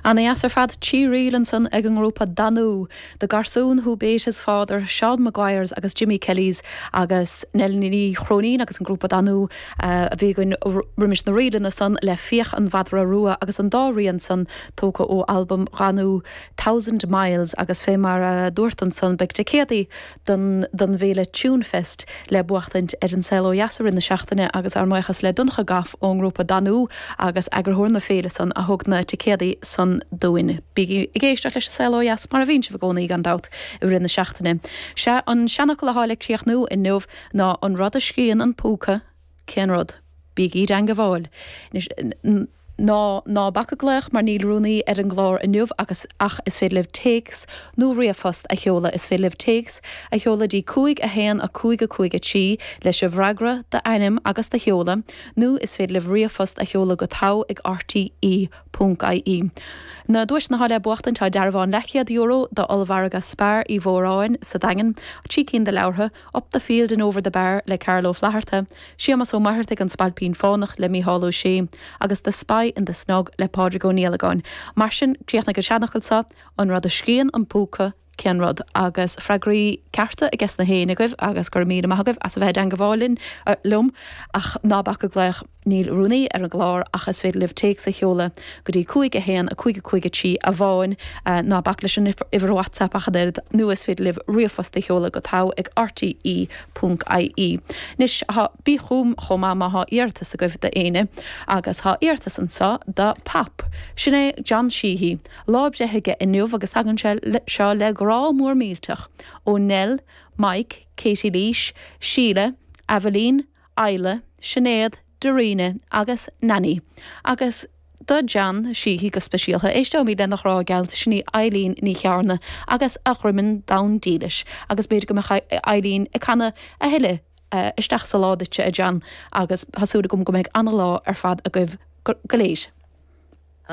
Ana dheas ar fad, Trí ríl ansan ag an ngrúpa Danú, The Garsún Who Bate His Father, Seán Maguires agus Jimmy Kellys agus Nell Ní Chróinín agus an grúpa Danú a bhí againn roimis na ríleanna san le Fiach an Mhadra Rua agus an dá rian san tógtha ó albam Dhanú Thousand Miles agus fé mar a dúrt ansan beidh ticéadaí don don bhféile Tunefest le buachtaint ar An Saol Ó Dheas i rith na seachtaine agus ár mbuíochas le Donncha Goff ón ngrúpa Danú agus eagarthóir na féile san a thug na ticéadaí san dúinn. Bígí ag éisteacht leis An Saol Ó Dheas mar a bhíonn sibh i gcónaí gan dabht i rith na seachtaine. Sea, an seanfhocal athá le críochnú inniu ná an rud a scríonn an púca, Cén rud? Bígí i dteangabháil. Anois, ná, ná bac ag glaoch mar níl rúnaí ar an gclár inniu agus, ach is féidir libh téacs nó ríomhphost a sheoladh. Is féidir libh téacs a sheoladh dtí 5 1 5 5 3 leis an bhfreagra, d'ainm agus do sheoladh, nó is féidir libh ríomhphost a sheoladh go togha ag rte ponc ie. Na duaiseanna atá le buachtaint tá dearbhán leathchéad euro d'ollmhargadh Spar Uí Mhóráin sa Daingean, 3 cinn de leabhartha, Up the Field and Over the Bar le Carl Ó Flaithearta, Séamas Ó Muircheartaigh An Spailpín Fánach le Mícheál Ó Sé agus The Spy in the Snug le Pádraig Ó Niallagáin. Mar sin, críochnaigh an seanfhocal seo, An rud a scríonn an púca, cén rud? Agus freagraí cearta ages na héinne agaibh agus go raibh míle maith agaibh as a bheith i dteangabháil linn, liom, ach ná bac ag glaoch. Níl rúnaí ar an gclár ach is féidir libh téacs a sheoladh go dtí 5 1 5 5 3 amháin. Ná bac leis an uimhir WhatsApp ach an oiread nó is féidir libh ríomhphost a sheoladh go togha ag rte ponc ie. Anois, thá, bí chugam chomh maith má thá iarratas agaibh d'éinne agus thá iarratas anseo do Pop. Sin é John Sheehy. Lá breithe aige inniu agus tagann sé seo le grá mór millteach ó Nell, Mike, Katie Leash, Síle, Aveline, Isla, Sinéad, Darina agus Nanny. Agus do John Sheehy go speisialtha, éisteoimid lena ghrá geal, sin í Eileen Ní Chearna agus A Dhroimeann Donn Dílis. Agus b'fhéidir go mbeadh Eileen ag canadh a thuilleadh isteach sa lá duitse, a John, agus tá súil agam go mbeidh ana-lá ar fad agaibh go léir.